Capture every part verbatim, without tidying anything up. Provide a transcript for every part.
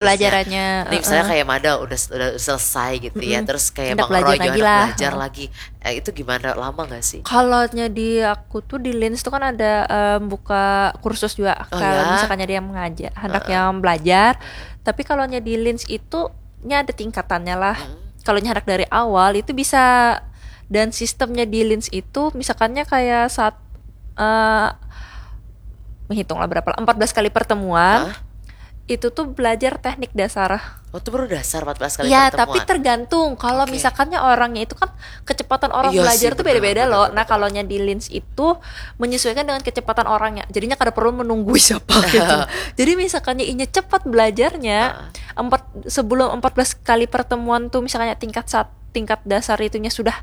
Pelajarannya, Ini misalnya heeh. Kayak Mada udah udah selesai gitu ya, Mm-mm. terus kayak Hendak Bang Roy belajar juga lagi hendak lah. Belajar lagi. Eh, itu gimana, lama nggak sih? Kalau nya di aku tuh di Linz tuh kan ada em, buka kursus juga. Oh, Kalau ya? Misalkan ada yang mengajar, hendak yang belajar. Tapi kalau nya di Linz itu nya ada tingkatannya lah. Hmm. Kalau nya hendak dari awal itu bisa, dan sistemnya di Linz itu misalkannya kayak saat eh menghitung lah berapa lah, empat belas kali pertemuan. Hah? Itu tuh belajar teknik dasar. Oh, itu baru dasar empat belas kali Ya, pertemuan. Tapi tergantung. Kalau Oke. Misalkannya orangnya itu kan kecepatan orang Iya belajar sih, tuh betul, beda-beda betul, loh. betul, Nah, betul. Kalau nya di Linz itu menyesuaikan dengan kecepatan orangnya. Jadinya kada perlu menunggu siapa gitu. Jadi misalkannya inya cepat belajarnya, Ah. empat sebelum empat belas kali pertemuan tuh misalnya tingkat saat tingkat dasar itunya sudah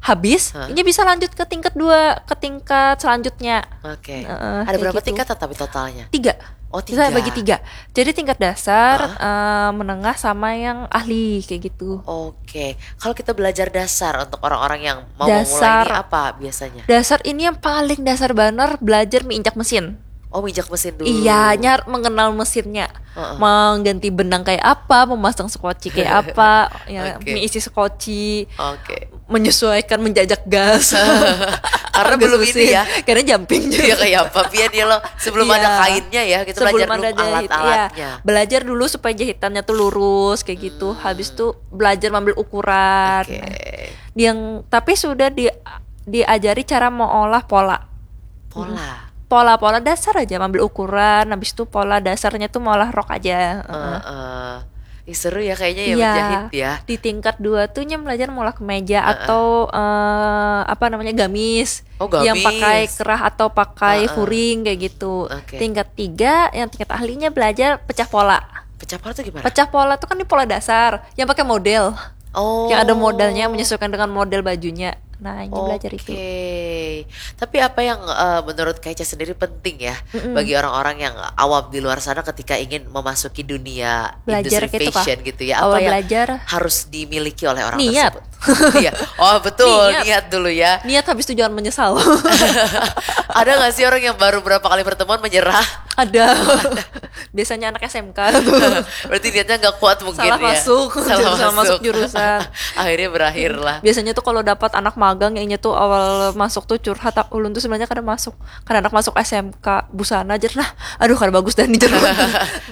habis, Hah? Inya bisa lanjut ke tingkat dua, ke tingkat selanjutnya. Oke. Heeh, Ada kayak berapa gitu. Tingkat tapi totalnya? Tiga. Oh, Kita tiga. Bagi tiga. Jadi tingkat dasar, Hah? eh, menengah sama yang ahli kayak gitu. Oke. Kalau kita belajar dasar untuk orang-orang yang mau Dasar. Memulai ini apa biasanya? Dasar ini yang paling dasar banar, belajar menginjak mesin. Oh, minjak mesin dulu. Iya, nyar mengenal mesinnya. Heeh. Mengganti benang kayak apa, memasang skoci kayak apa, ya, Oke. Mengisi skoci, Oke. Menyesuaikan, menjajak gas. Karena Gas belum mesin. Ini ya. Karena jumping juga. Iya, kayak apa? Biar dia lo sebelum Iya. Ada kainnya ya, kita Sebelum belajar ada dulu jahit, alat-alatnya. Iya. Belajar dulu supaya jahitannya tuh lurus kayak gitu. Hmm. Habis tuh belajar mengambil ukuran. Oke. Yang tapi sudah di diajari cara mengolah pola. Pola. Pola-pola dasar aja, mengambil ukuran, habis itu pola dasarnya tuh mengolah rok aja. Uh-uh. Uh-uh. Ih, seru ya kayaknya ya, iya, menjahit ya. Di tingkat dua tuh nya belajar mengolah kemeja, uh-uh, atau uh, apa namanya, gamis. Oh, gamis. Yang pakai kerah atau pakai, uh-uh, furing kayak gitu. Oke. Tingkat tiga, yang tingkat ahlinya belajar pecah pola. Pecah pola tuh gimana? Pecah pola tuh kan di pola dasar, yang pakai model. Oh. Yang ada modelnya, menyesuaikan dengan model bajunya. Nah, ini belajar itu. Oke. Tapi apa yang, eh, menurut Kak Ica sendiri penting ya, mm-mm, bagi orang-orang yang awam di luar sana ketika ingin memasuki dunia industri fashion gitu ya? Belajar kayak itu, Kak. Awal belajar. Apa yang harus dimiliki oleh orang tersebut? Niat. Iya. Oh, betul. Niat. Niat dulu ya. Niat, habis itu jangan menyesal. Ada nggak sih orang yang baru berapa kali pertemuan menyerah? Ada. Biasanya anak S M K tuh. Berarti niatnya nggak kuat mungkin. Salah ya. Masuk, salah jurusan, masuk, masuk jurusan. Akhirnya berakhir lah. Biasanya tuh kalau dapat anak magang, yang inya tuh awal masuk tuh curhat, "Ah, ulun tuh sebenarnya kada masuk, kada anak masuk S M K, busana aja lah. Aduh, kada bagus dah nih," jar.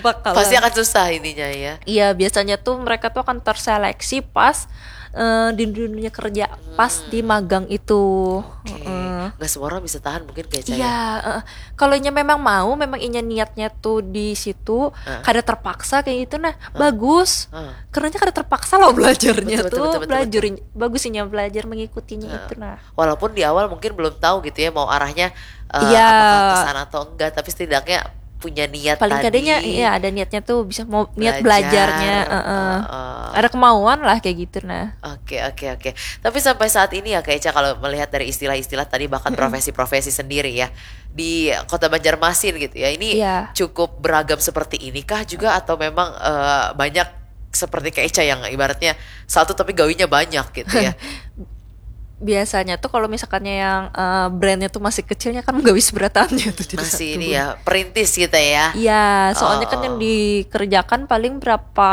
Bakalan. Pasti akan susah intinya ya. Iya, biasanya tuh mereka tuh akan terseleksi pas, eh, di dunia kerja, pas, hmm, di magang itu. Oke. Heeh. Nggak semua orang bisa tahan mungkin, Kak Ica ya. Iya, heeh. Kalau inya memang mau, memang inya niatnya tuh di situ, heeh, kada terpaksa kayak gitu, nah, heeh, bagus. Heeh. Karena kada terpaksa loh belajarnya. Betul, betul, tuh, betul, betul, belajar, betul. Bagus inya belajar mengikutinya, heeh, itu, nah. Walaupun di awal mungkin belum tahu gitu ya, mau arahnya, eh, iya, apakah ke sana atau enggak, tapi setidaknya punya niat. Paling tadi kadanya, iya, ada niatnya tuh, bisa mau niat belajar, belajarnya, heeh. Heeh. Ada kemauan lah kayak gitu, nah. Oke, oke, oke. Tapi sampai saat ini ya, Kak Ica, kalau melihat dari istilah-istilah tadi, bahkan, mm-mm, profesi-profesi sendiri ya, di Kota Banjarmasin gitu ya, ini, iya, cukup beragam seperti inikah juga, atau memang, eh, banyak seperti Kak Ica yang ibaratnya satu tapi gawinya banyak gitu ya? Biasanya tuh kalau misalkannya yang, eh, brandnya tuh masih kecilnya kan gawi seberatannya tuh jadi. Masih satu ini ya, perintis gitu ya? Iya, soalnya kan yang, oh, dikerjakan paling berapa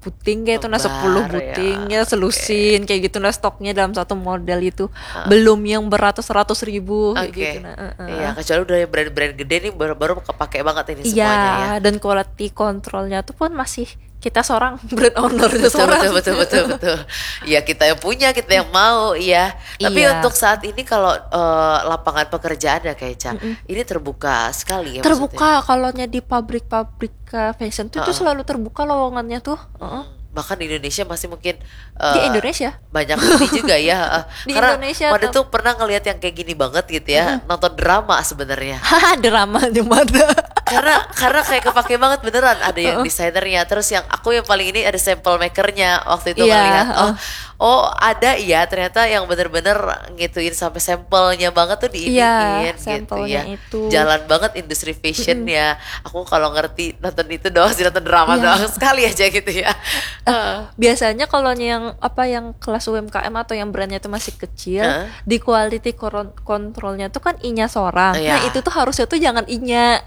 buting kayak itu, nah, lembar, sepuluh buting ya, ya, selusin, oke, kayak gitu, nah, stoknya dalam satu model itu. Ah. Belum yang beratus-ratus ribu kayak, oke, gitu, nah, heeh. Iya, kecuali udah yang brand-brand gede nih, baru, baru kepake banget ini, iya, semuanya ya. Dan quality controlnya tuh pun masih kita seorang brand owner. Betul, seorang, betul, betul, betul, betul. Ya, kita yang punya, kita yang mau, ya. Tapi, iya, untuk saat ini kalau, eh, lapangan pekerjaan ya, Kak Ica, mm-mm, ini terbuka sekali ya, terbuka maksudnya. Kalau nya di pabrik-pabrik, eh, fashion tuh, heeh, tuh selalu terbuka lowongannya tuh. Heeh. Hmm, bahkan di Indonesia masih mungkin, eh, di Indonesia? Banyak ini juga ya, heeh. Di Indonesia tuh. Karena Mada tuh pernah ngelihat yang kayak gini banget gitu ya, mm-mm, nonton drama sebenarnya. Haha, drama di mana? Karena, karena kayak kepake banget beneran. Ada yang, heeh, desainernya, terus yang aku yang paling ini ada sample makernya waktu itu, iya, ngelihat. Oh, heeh, oh, ada ya, ternyata yang bener-bener ngituin sampai sampelnya banget tuh diiniin, iya, gitu sampelnya ya. Itu. Jalan banget industri fashionnya. Mm-mm. Aku kalau ngerti nonton itu doang sih, nonton drama, iya, doang sekali aja gitu ya. Eh, heeh. Biasanya kalau yang apa, yang kelas U M K M atau yang brandnya itu masih kecil, heeh, di quality coron-, controlnya tuh kan inya seorang. Iya. Nah, itu tuh harusnya tuh jangan inya.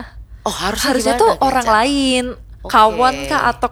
Oh, harusnya gimana, Kak Ica? Harusnya tuh orang lain. Kawan kah atau